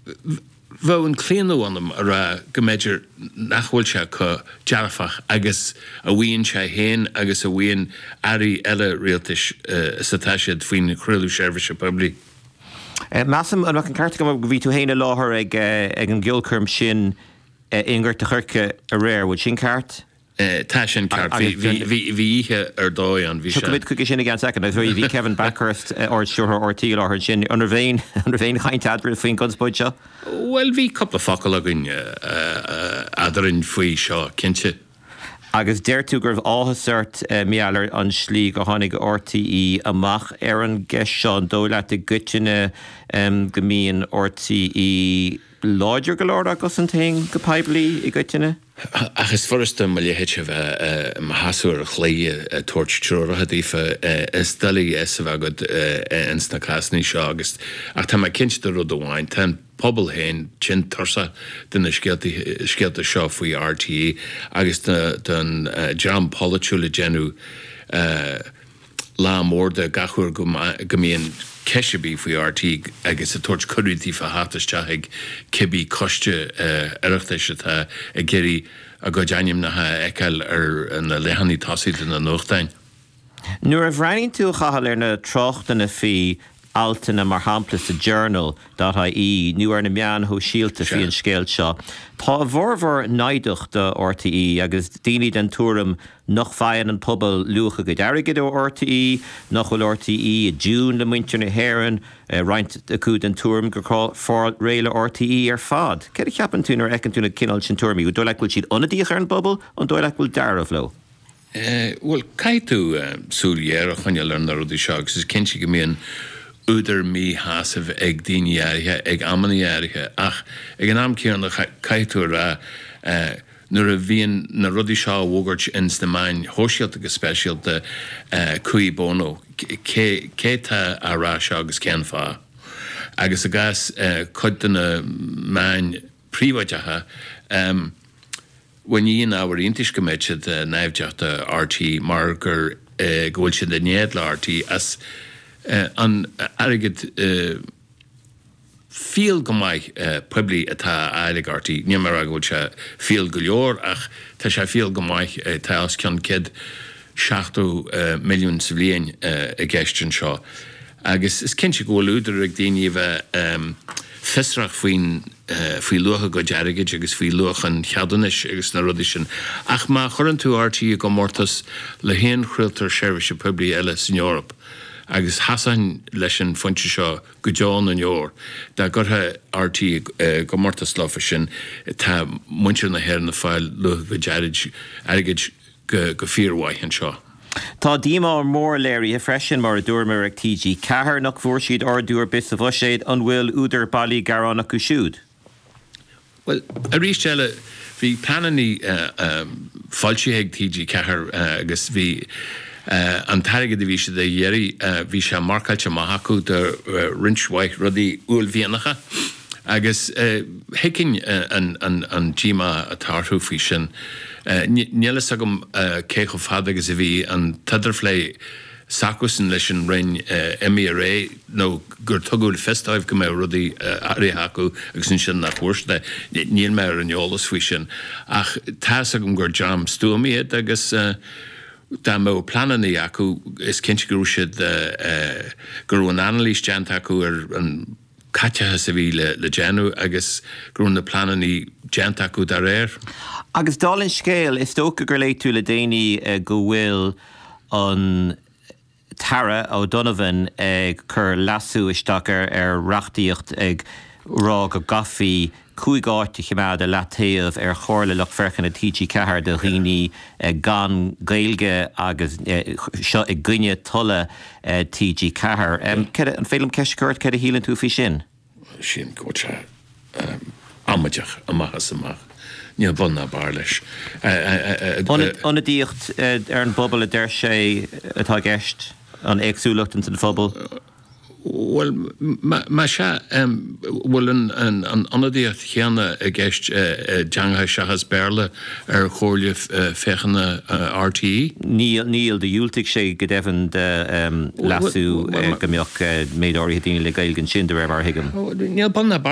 Bheadh an claonadh ionam a rá go mb'fhéidir nach bhfuil sé chomh dearfach agus a mhaíonn sé féin agus a mhaíonn airí eile rialtais is atá siad faoin chraoladh seirbhíse poiblí. Measaim, an mbeadh an ceart agam go bhí tú féin i láthair ag an gceolchoirm sin i nGort a' Choirce aréir, bhfuil sin ceart? Tá sin ceart. Bhí oíche ar dóigh ann. Bhí sé. Tiocfaimid chuige sin i gceann soicind. Agus bhí Kevin Bakhurst, Ard-Stiúrthóir RTÉ i láthair ansin. An raibh aon, an raibh aon chaint eadraibh faoin gconspóid seo? Bhuel, bhí cúpla focal againn eadrainn faoi seo, cinnte. Agus deir tú go raibh áthas ort, mar gheall ar an slí gur tháinig RTÉ amach ar an gceist seo. An dóigh leat i gcoitinne go mbíonn RTÉ láidir go leor dá gcosaint féin go poiblí i gcoitinne? Ach is furasta mo leithéidse a bheith i mo sheasamh ar an chlaí ag tabhairt treoracha daofa. Is doiligh a fhios a bheith agat ins na cásanna seo agus, ach tá mé cinnte de rud amháin, tá an pobal féin tinn tuirseach de na scéalta seo faoi RTÉ agus den dream polaitiúil ag déanamh lá mór de gach uair go mbíonn ceist ar bith faoi RTÉ agus ag tabhairt cuireadh daofa theacht isteach ag cibé coiste Oireachtais atá ag iarraidh a gcuid ainmneacha a fheiceáil ar na leathanaigh tosaigh de na nuachtáin. Nuair a bhreathnaíonn tú, a Chathail, ar na tráchtanna faoi altanna mar shampla sa Journal dot ie nó ar na meáin shóisialta faoi an scéal seo, tá a bhformhór naimhdeach do RTÉ agus daoine den tuairim nach bhfaigheann an pobal luach a gcuid airgid ó RTÉ, nach bhfuil RTÉ i dtiúin le muintir na hÉireann, roinnt acu den tuairim gur chóir fáil réidh le RTÉ ar fad. Céard a cheapann tú nuair a fheiceann tú na cineál sin tuairimí? An dóigh leat go bhfuil siad ionadaíoch ar an bpobal? An dóigh leat go bhfuil dealramh leo? Bhuel, caithfidh tú súil ghéar a choinneáil ar na rudaí seo agus is cinnte go mbíonn údar míshásaimh ag daoine áirithe ag amanna áirithe ach ag an am céanna caithfidh tú a rá nuair a bhíonn na rudaí seo á bhfógairt ins na meáin shóisialta go speisialta, cui bono? Cé cé tá á rá seo agus cén fáth? Agus i gcás cuid de na meáin phríobháideacha, Bhuel, ní haon ábhar iontais go mbeadh siad naimhdeach do RTÉ mar gur go bhfuil siad in éad le RTÉ as an airgead fial go maith poiblí atá á fháil ag RTÉ. Níl mé ag rá go bhfuil sé fial go leor ach tá sé fial go maith, tá os cionn 170 milliún sa bhliain i gceist anseo. Agus is cinnte go bhfuil údar ag daoine a bheith fiosrach faoin, faoi luach a gcuid airgid agus faoi luach an cheadúnais agus na rudaí sin. Ach má chuireann tú RTÉ i gcomórtas le haon chraoltóir seirbhíse poiblí eile san Eoraip, agus sheasfainn leis an phointe seo go deo na ndeor, dá gcuirfeá RTÉ i gcomórtas leofa sin, tá muintir na hÉireann ag fáil luach a gcuid airgid go fíormhaith anseo. Tá díomá mór léirithe freisin, mar a dúramar, ag TG4 nach bhfuair siad ardú ar bith sa bhuiséad. An bhfuil údar bailí gearán acu siúd? Bhuel, arís eile, bhí pleananna foilsithe ag TG4 agus bhí an t-airgead a bhí siad a iarraidh, bhí sé marcáilte amach acu do roinnt mhaith rudaí uaillmhianacha. Agus thuigfinn an díomá atá orthu faoi sin. Níl fhios agam cé chomh fada agus a bhí an t-idirphlé s'acusan leis an Roinn imithe ar aghaidh nó gur tugadh le fios dóibh go mbeadh rudaí áirithe acu agus ansin nach bhfuair siad é. Níl mé ar an eolas faoi sin. Ach tá fhios agam gur dream stuama iad agus dá mbeadh pleananna acu is cinnte go raibh siad, go raibh an anailís déanta acu ar an caiteachas a bhí le déanamh agus go raibh na pleananna déanta acu dá réir. Agus dála an scéil, is dócha gur léigh tú le déanaí go bhfuil an tAire O'Donovan ag cur leasú isteach ar reachtaíocht ag rá go gcaithfí 5 áit a choimeád i leataobh ar Chomhairle Lucht Féachana TG4 do dhaoine gan Gaeilge agus seo i gcoinne tola TG4. An féidir liom ceist a chur ort, céard a shíleann tú faoi sin? Sílim go bhfuil sé amaideach amach is amach. Níl bun ná barr leis. Ionadaíocht ar an bpobal a deir sé atá i gceist, an éagsúlacht ins an phobal. Bhuel, más ea, bhfuil an ionadaíocht chéanna i gceist i dteangacha seachas Béarla ar Chomhairle Féachana RTÉ? Níl, níl. Do dhiúltaigh sé go deimhin do leasú go mbeadh méid áirithe daoine le Gaeilge ansin, de réir mar a thuigim. Níl bun ná barr.